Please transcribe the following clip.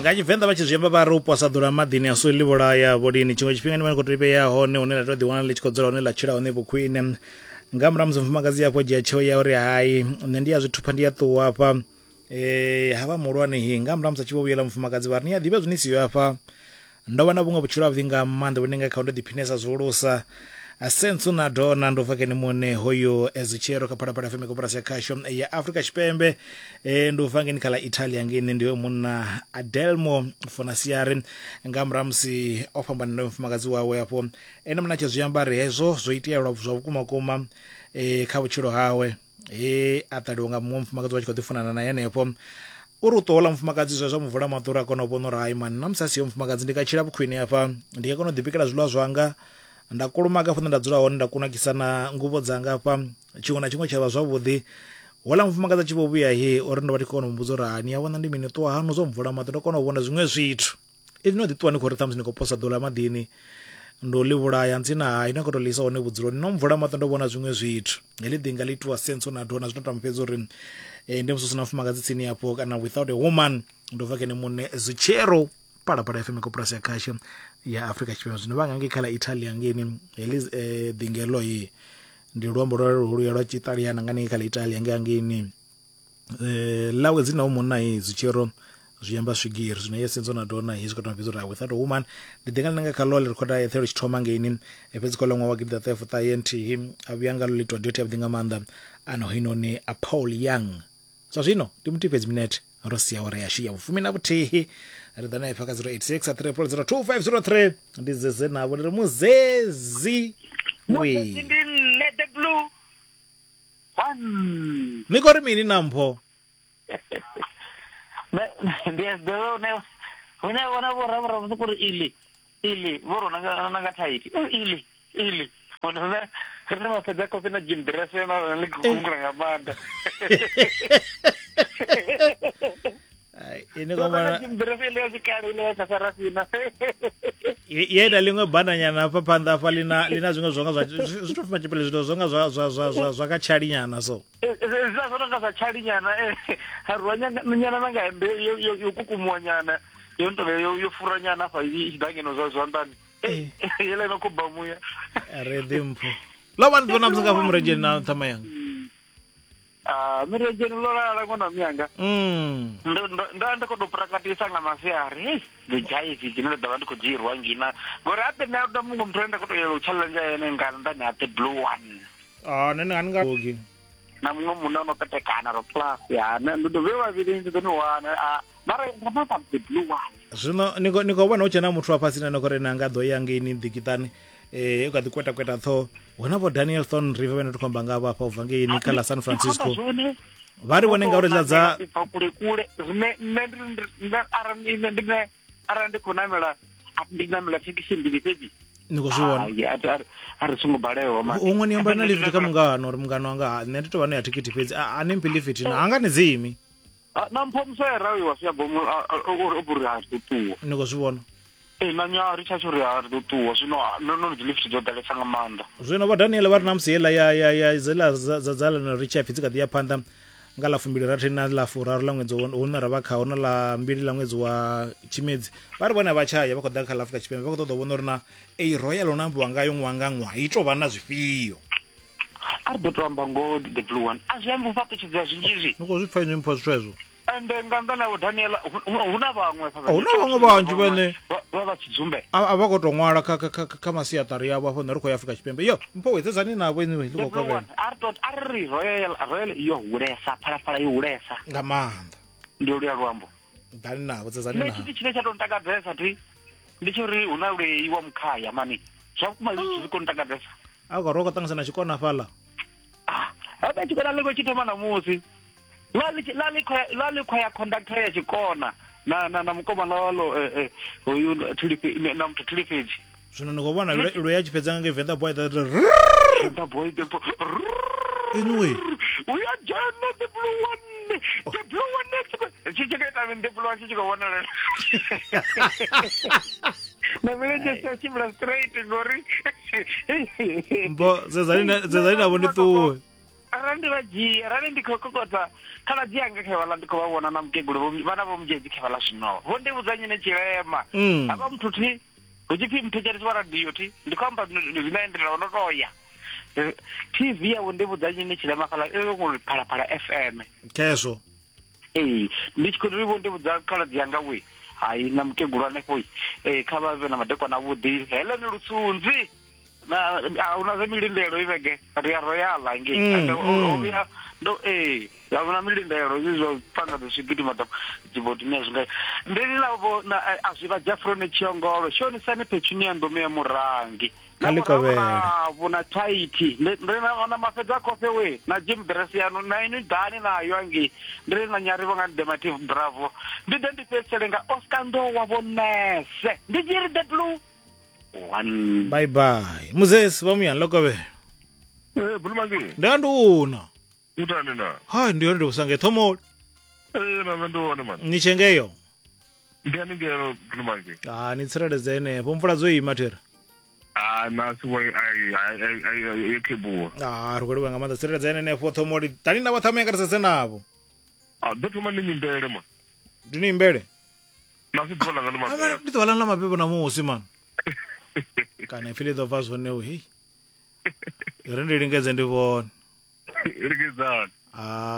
Nga Tshivenḓa vha tshi zwi amba vha ri u posa ḓula maḓini a so ḽi vhulaya vho lini. Tshiṅwe tshifhinga ni vha ni khou tou vhea hone hune ḽa tou ḓiwana ḽi tshi khou dzula hone ḽa tshila hone vhukhwine. Nga murahu ha musi mufumakadzi afho dzhia tsheo ya uri hai nṋe ndi a zwi thupha ndi a ṱuwa hafha eh havha muhulwane hi nga murahu ha musi a tshi vho vhuyela mufumakadzi vha ri ni a ḓivha zwine siyo hafha ndo vha na vhuṅwe vhutshilo havhuḓi nga maanḓa vhune nga kha ndo ḓiphinesa zwihulusa sensu na dona ndo bva kene muṋe hoyo ezitshero kha phalaphala fm koporasi ya khasho ya afrika tshipembe e, ndo bva ngeni kha ḽa italia ngeni ndi munna adelmo fonasiari nga murahu musi o fhambana na mufumakadzi wawe afho ene muṋe a tshi zwi amba ri hezwo zwo itea lwa zwa vhukuma kuma e, kha vhutshilo hawe he a ṱaliwa nga muṅwe mufumakadzi wa tshi khou ḓi funana naye henefho uri u ṱola mufumakadzi zwe zwa mu vula maṱo uri a kone u vhona uri hai mani na musi a siho mufumakadzi ndi nga tshila vhukhwine hafha ndi nga kona u ḓibikela zwiḽiwa zwanga nda kulumaga hafho nda dzula hone nda kunakisa na nguvho dzanga hafha tshiṅwe na tshiṅwe tsha vha zwavhuḓi hola mufumakadzi a tshi vho vhuya he uri ndo vha ndi khou kona u mmbudza uri hani ya vhona ndi mini ṱuwa hanu zwo mvula maṱo ndo kona u vhona zwiṅwe zwithu Inwi no ḓi ṱuwa ni khou ri ṱhamusi ni khou posa ḓula maḓini ndo ḽi vhulaya ntsina hai ni khou tou ḽi isa hone vhudzuloni no mvula maṱo ndo vhona zwiṅwe zwithu heḽi ḓinga ḽi itiwa senso na dona zwino tamba fhedzi uri eh, ndi musi hu si na mufumakadzi tsini afho kana without a woman ndo bva kene muṋe zwitshero palapala fm koporasi ya khasho ya afrika tshipembe zwino vha nga ngei kha ḽa italia ngeini heḽi eh, ḓingelo i ndi luambo lwa luya lwa tshiṱaliana nga ngei kha ḽa italia ngei ngeini eh lawe dzina hu munna i zwitshero zwi amba swigiri zwino ye senzo na dona hezwi khou fhedza uri without a woman ndi ḓi nga ḽi nga kha ḽo ḽi rikhoda eṱhe tshi thoma ngeini eh, fhedzi kha ḽa ṅwaha wa gidi ḓaṱahe fuṱahe nthihi a vhuya nga ḽo ḽitwa duet yavhuḓi nga maanḓa ano hoinoni a Paul Young zwa zwino ndi muthihi fhedzi minete ro sia awara yashu ya vhufumi na vhuthihi ri ḓa na ipfa kha 086 300 2503 ndi zeze navho ndi ri muzezi we ndi nṋe the blue one ni khou ri mini na mpho ndi a zwi ḓivha hune hune vhona vho ravhura vha soko ri ili ili vho rona nga na nga thaithi ili ili hone hune ri vha fhedza kofi na gym dress na ḽi gungula nga maanḓa ine kwa mwana gym dress ile ya tshikale ile ya tsasarafina ye na ḽiṅwe bananyana hafha phanḓa hafha lina lina zwiṅwe zwonga zwa zwi to fuma tshipele zwithu zwonga zwa zwa zwa zwa zwa kha tshalinyana so zwa zwo nga zwa tshalinyana ha rwa nyana na nga hembe yo yo yo kukumuwa nyana yo ntovhe yo yo fura nyana afha i tshi ḓa ngeno zwa zwanḓani yela ino khou bva muya re ḓi mpho ḽo vha ni ḓo na musi nga fho muredzheni na ṱhama yanga Ah, miredzheni ḽo lala ṅwana wa miyanga ndo ndo- ndo ndi khou tou prakatisa nga masiari hei ndi dzhaivi dzine nda ḓo vha ndi khou dzhirwa ngina ngori ape nṋe a muṅwe muthu ane nda khou tou yela u challenge ene nga nṱhani ha the blue one Ah, nṋe ni nga ogi na muṅwe munna o no petekana ro plus ya nṋe ndi ḓo vhe vhavhili ndi ḓo ni wana ah, mara nga maanḓa the blue one zwino ni khou ni khou vhona hu tshe na muthu wa fhasi na no khou ri na nga ḓo ya ngeini ḓikiṱani eh u kha ḓi kweta kweta ṱhoho hu na vho Daniel Thorn River vhane ri khou amba ngavho afha u bva ngeini kha ḽa San Francisco vha ri vhone ngauri ḽa dza bva kule kule zwine nṋe ndi nṋe arali nṋe ndi nṋe arali ndi khou namela ndi namela thekhisi mbili fhedzi ni khou zwi vhona a ri songo balewa mani huṅwe ni amba na lift kha mungano uri mungano wanga ha nṋe ndi tou vha no ya thikhithi fhedzi a ni mphi lift na anga ni dzimi na mpho musera uyu wa sia bomo uri uri ha ri ḓo ṱuwa ni khou zwi vhona ee na nya ri tsha uri ha ri ḓo ṱuwa zwino no no dzi lift dzo ḓalesa nga maanḓa zwino vho daniel vha ri na musi heiḽa ya ya ya dzela dza dza ḽa ri tshi pfi dzi kha ḓi ya phanḓa nga ḽa fumbili rathi na ḽa furaru ḽa ṅwedzi hune ra vha khaho na ḽa mbili ḽa ṅwedzi wa tshimedzi vha ri vhone vha tshaya vha khou ḓa kha ḽa afrika tshipembe vha khou ṱoḓa u vhona uri na ei royal no ambiwa ngayo ṅwaha nga ṅwaha i tou vha na zwifhio a ri ḓo to amba ngoho the blue one a zwi ambi u fhaṱutshedzea zwinzhi zwi ni khou zwi pfa inwi mpho zwithu hezwo ende nga nnḓa na vho daniela hu na vhaṅwe hu na vhaṅwe vhanzhi vhane vha vha tshidzumbe a vha khou tou ṅwala kha kha kha masiaṱari yavho afho nṋe ri khou ya afrika tshipembe yo mpho wedzedzani navho inwi ḽi khou kovhela a ri to a ri ri royal royal yo hulesa phalaphala yo hulesa nga maanḓa ndi luya luambo ḓani navho dzedzani navho tshithu tshine tsha tou ntakadzesa thi ndi tsho uri hu na lwei wa mukhaya mani zwa vhukuma zwi zwi khou ntakadzesa a khou ro khou ṱanganyisa na tshikona fhaḽa ah habe tshikona ḽi khou tshi thoma ṋamusi ḽa ḽi khou ya conductor ya tshikona na na na mukomana walo eh, eh, hoyu thulifhe na muthu thulifhedzi zwino ni khou vhona lwe ya tshi fhedza nga ngei venḓa boy that venḓa boy the anyway uya dzhena the blue one the blue one tshi tshi khou ita mini the blue one tshi tshi khou vhonalela na milenzhe si tshimbila straight ngori mbo zezani navho ndi ṱuwe Arali ndi vha dzhia, arali ndi khou kokodza khaladzi yanga khe vhaḽa ndi khou vha vhona na mukegulu vho vhana vho mudzhedzi khe vhaḽa zwino. Vho ndi vhudza nyine tshilema. Mm. Havha muthu thi hu tshi pfi muthetshelesi wa radio thi ndi khou amba zwine ndi ndo to ya. TV ya vho ndi vhudza nyine tshilema khala e ngori Phalaphala FM. Khezwo. Ee, ndi tshi khou ri vho ndi vhudza khaladzi yanga we hai na mukegulu hanefho eh kha vha vhe na madekwana avhuḓi Helen Lutsunzi na a huna zwa milindelo i vhege ri a royala ngei Ende o vhuya ndo ee a huna milindelo izwi zwa panga dzi swigidi madamu dzibodini a zwi nga ndi na vho na a zwi vha Jafrone Tshiongolo shonisani Petunia Ndume ya Murangi Kha ḽi kovhele. vhu na thaithi ndi na na mafhedza a khofhe we na Jim dress yanu na inwi ḓani nayo angei ndi ri na nyari vho nga Demative Bravo ndi ḓe ndi fhedzisele nga Oscar Ndowa vho nese ndi tshi ri the blue one Bye bye. Muzesi vha muyani ḽo kovhela. Eh, Bulumangi, Nda ndi una. utani na? Hai ndi yone ndi kusange thomoli. Eh, na nṋe ndi hone man. Ni tshengeyo. Ndi haningei Bulumangi. Ah ni tsireledze henefho mvula dzo ima thera. Ah, na si wa ai ai ai ai yo kebuwa. Ah ri khou livhuwa nga maanḓa tsireledze henefho thomoli. Tani na vha ṱhamu yanga ri sedze navho. Ah, ḓo thoma ni nyimbele man. Ndi ni imbele. Na si ḓuvha langa ḽa mabebo. Ndi ḓuvha ḽanu ḽa mabebo ṋamusi man. Kana ipfi ḽi ḓo bva zwone u hei. Ri ndi lingedze ndi vhone. Lingedzani. Ah.